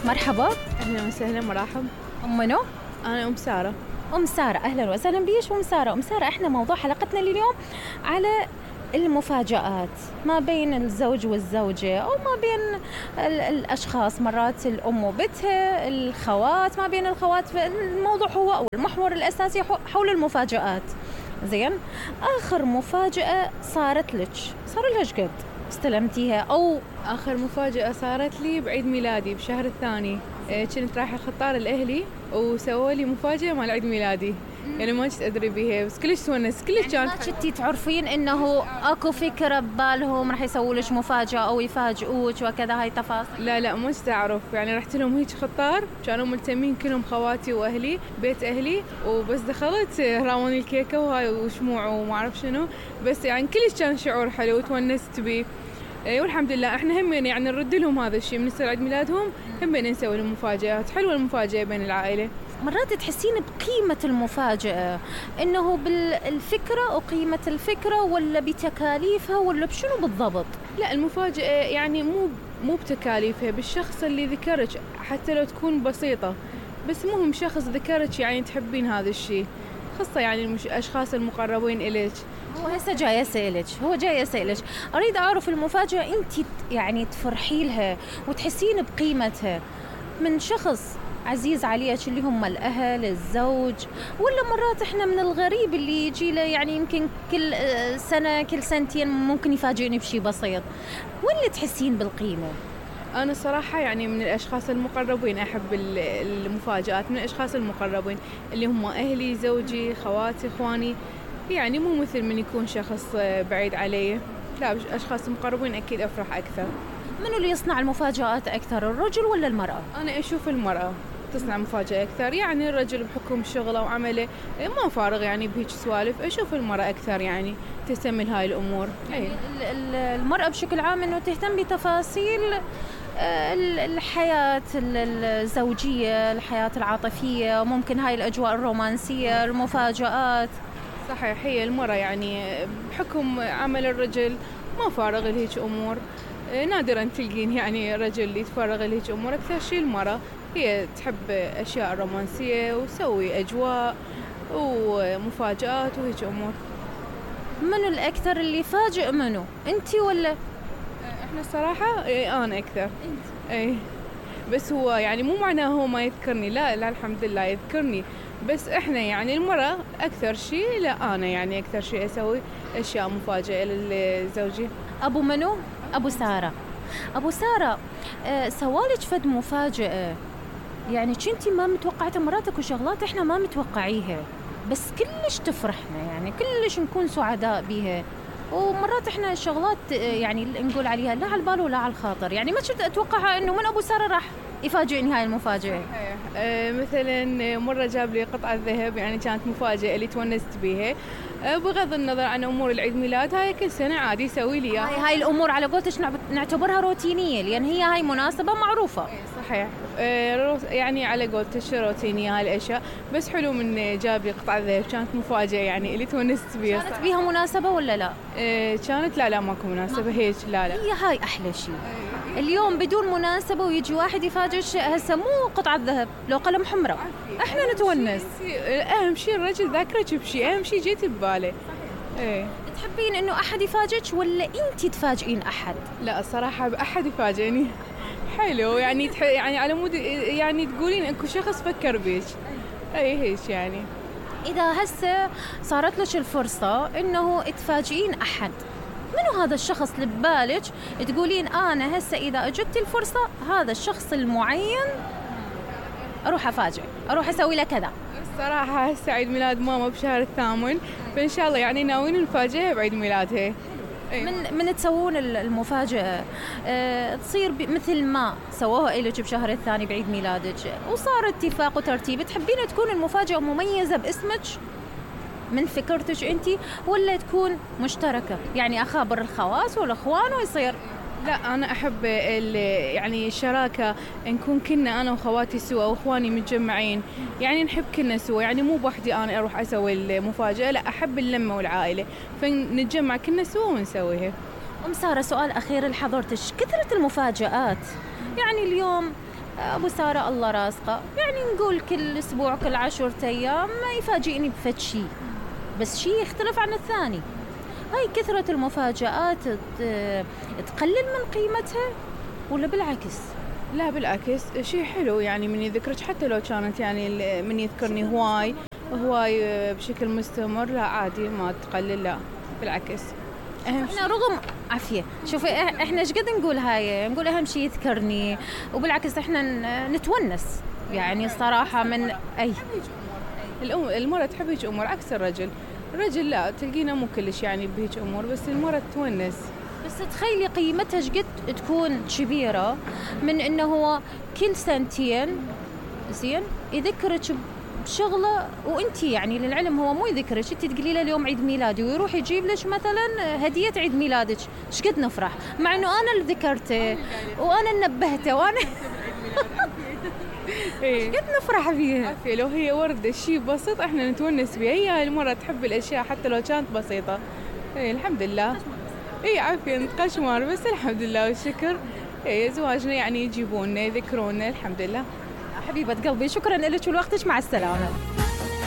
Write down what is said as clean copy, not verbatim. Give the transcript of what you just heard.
مرحبا. أهلا وسهلا، مرحب. أم منو؟ أنا أم سارة. أم سارة، أهلا وسهلا بيش أم سارة. أم سارة، إحنا موضوع حلقتنا اليوم على المفاجآت ما بين الزوج والزوجة، أو ما بين الأشخاص، مرات الأم وبنتها، الخوات، ما بين الخوات. الموضوع هو أو المحور الأساسي حول المفاجآت. زين، آخر مفاجأة صارت لك صار لها قد استلمتيها؟ أو آخر مفاجأة صارت لي بعيد ميلادي بشهر الثاني. كنت رايحة خطار الأهلي وسووا لي مفاجأة مال عيد ميلادي. يعني ما كنت أدري بيها، بس كلش تونس، كلش يعني كانت. ما كنتي تعرفين إنه أكو فكرة ببالهم راح يسووا لك مفاجأة أو يفاجئوك وكذا، هاي تفاصيل؟ لا ما كنت أعرف، يعني رحت لهم هيك خطار، كانوا ملتمين كلهم خواتي وأهلي، بيت أهلي، وبس دخلت راوني الكيكة وهاي وشموع وما أعرف شنو، بس يعني كلش كان شعور حلو وتونست بيه. والحمد لله احنا هم يعني نرد لهم هذا الشيء من يصير عيد ميلادهم، هم نسوي لهم مفاجآت حلوة. المفاجأة بين العائلة مرات تحسين بقيمة المفاجأة، إنه بالفكرة وقيمة الفكرة، ولا بتكاليفها، ولا بشنو بالضبط؟ لا، المفاجأة يعني مو بتكاليفها، بالشخص اللي ذكرك، حتى لو تكون بسيطة، بس مهم شخص ذكرك يعني تحبين هذا الشيء، خاصة يعني الأشخاص المقربين إليك. هو هسه جاي أسألك، أريد أعرف المفاجأة أنت يعني تفرحي لها وتحسين بقيمتها من شخص عزيز عليك، اللي هم الأهل، الزوج، ولا مرات إحنا من الغريب اللي يجي له، يعني يمكن كل سنة كل سنتين ممكن يفاجئني بشيء بسيط، ولا تحسين بالقيمة؟ أنا صراحة يعني من الأشخاص المقربين أحب المفاجآت، من الأشخاص المقربين اللي هم أهلي، زوجي، خواتي، إخواني، يعني مو مثل من يكون شخص بعيد علي. لا، أشخاص مقربين أكيد أفرح أكثر. منو اللي يصنع المفاجآت أكثر، الرجل ولا المرأة؟ أنا أشوف المرأة تصنع مفاجأة أكثر، يعني الرجل بحكم شغله وعمله ما فارغ يعني بهيك سوالف. أشوف المرأة أكثر يعني تهتم لهاي الأمور. يعني المرأة بشكل عام إنه تهتم بتفاصيل الحياة الزوجية، الحياة العاطفية، ممكن هاي الأجواء الرومانسية، المفاجآت. صحيح، هي المرأة يعني بحكم عمل الرجل ما فارغ لهيك أمور. نادرا تلقين يعني رجل يتفرغ لهيك أمور. أكثر شيء المرأة هي تحب أشياء رومانسية وتسوي أجواء ومفاجآت وهيك أمور. منو الأكثر اللي يفاجئ منو؟ أنتي ولا؟ إحنا الصراحة أنا أكثر. بس هو يعني مو معناه هو ما يذكرني، لا الحمد لله يذكرني، بس إحنا يعني المرأة أكثر شيء، لا أنا يعني أكثر شيء أسوي أشياء مفاجئة لزوجي. أبو منو؟ أبو سارة. أبو سارة، سوالك فد مفاجأة يعني كنتي ما متوقعتها، مراتك وشغلات إحنا ما متوقعيها، بس كلش تفرحنا، يعني كلش نكون سعداء بيها. ومرات إحنا شغلات يعني نقول عليها لا على البال ولا على الخاطر، يعني ما كنت أتوقعها إنه من أبو سارة راح يفاجئني هاي المفاجأة. مثلا مرة جاب لي قطعة ذهب، يعني كانت مفاجأة اللي تونست بيها. بغض النظر عن أمور العيد ميلاد، هاي كل سنة عادي يسوي لي إياها. هاي الأمور على قولتك نعتبرها روتينية، لأن هاي مناسبة معروفة. صحيح، يعني على قولتك روتينية هاي الأشياء، بس حلو من جاب لي قطعة ذهب، كانت مفاجأة يعني اللي تونست بيها. كانت بيها مناسبة ولا لا؟ كانت لا ماكو مناسبة هيك، لا. هي هاي أحلى شيء. اليوم بدون مناسبة ويجي واحد يفاجئ، هسه مو قطعة ذهب، لو قلم حمراء احنا نتونس. اهم شيء الرجل ذاكرك بشيء، اهم شيء جيت بباله. تحبين انه احد يفاجئك ولا انت تفاجئين احد؟ لا الصراحة احد يفاجئني حلو، يعني يعني على مود يعني تقولين اكو شخص فكر بيك. هيك يعني. اذا هسه صارت لك الفرصة انه تفاجئين احد، منو هذا الشخص اللي ببالك تقولين أنا هسه إذا أجت الفرصة هذا الشخص المعين أروح أفاجئ، أروح أسوي له كذا؟ الصراحة هسه عيد ميلاد ماما بشهر الثامن، فإن شاء الله يعني ناويين نفاجئها بعيد ميلادها. من تسوون المفاجأة تصير مثل ما سووها إلك بشهر الثاني بعيد ميلادك، وصار اتفاق وترتيب، تحبين تكون المفاجأة مميزة باسمك من فكرتك أنتي، ولا تكون مشتركة، يعني أخابر الخواص والأخوان ويصير؟ لا أنا أحب يعني الشراكة، نكون كنا أنا وخواتي سوا وإخواني متجمعين، يعني نحب كنا سوا، يعني مو بوحدي أنا أروح أسوي المفاجأة، لا أحب اللمة والعائلة، فنتجمع كنا سوا ونسويها. أم سارة، سؤال أخير لحضرتك، كثرة المفاجآت، يعني اليوم ابو ساره الله رازقه، يعني نقول كل اسبوع كل 10 ايام يفاجئني بفد شيء، بس شيء يختلف عن الثاني. هاي كثرة المفاجآت تقلل من قيمتها ولا بالعكس؟ لا بالعكس، شيء حلو يعني من يذكرك، حتى لو كانت يعني من يذكرني هواي بشكل مستمر، لا عادي ما تقلل، لا بالعكس. احنا رغم عافية، شوفي احنا ايش قد نقول هاي، نقول اهم شيء يذكرني، وبالعكس احنا نتونس يعني الصراحة من اي المرأة تحب هيك امور عكس الرجل لا تلقينا مو كلش يعني بهيك امور، بس المرأة تونس. بس تخيلي قيمتها ايش قد تكون كبيرة من انه هو كل سنتين زين يذكرك بشغله، وانتي يعني للعلم هو مو يذكرك، انتي تقولي له اليوم عيد ميلادي ويروح يجيب لك مثلا هدية عيد ميلادك، ايش قد نفرح مع انه انا اللي ذكرته وانا اللي نبهته وانا ايش قد نفرح فيها. لو هي وردة شيء بسيط احنا نتونس بها، هي المرة تحب الاشياء حتى لو كانت بسيطة. الحمد لله. عافية نتقشمر، بس الحمد لله والشكر. زواجنا يعني يجيبونا يذكرونا، الحمد لله. حبيبة قلبي شكرا لك ولوقتك، مع السلامة.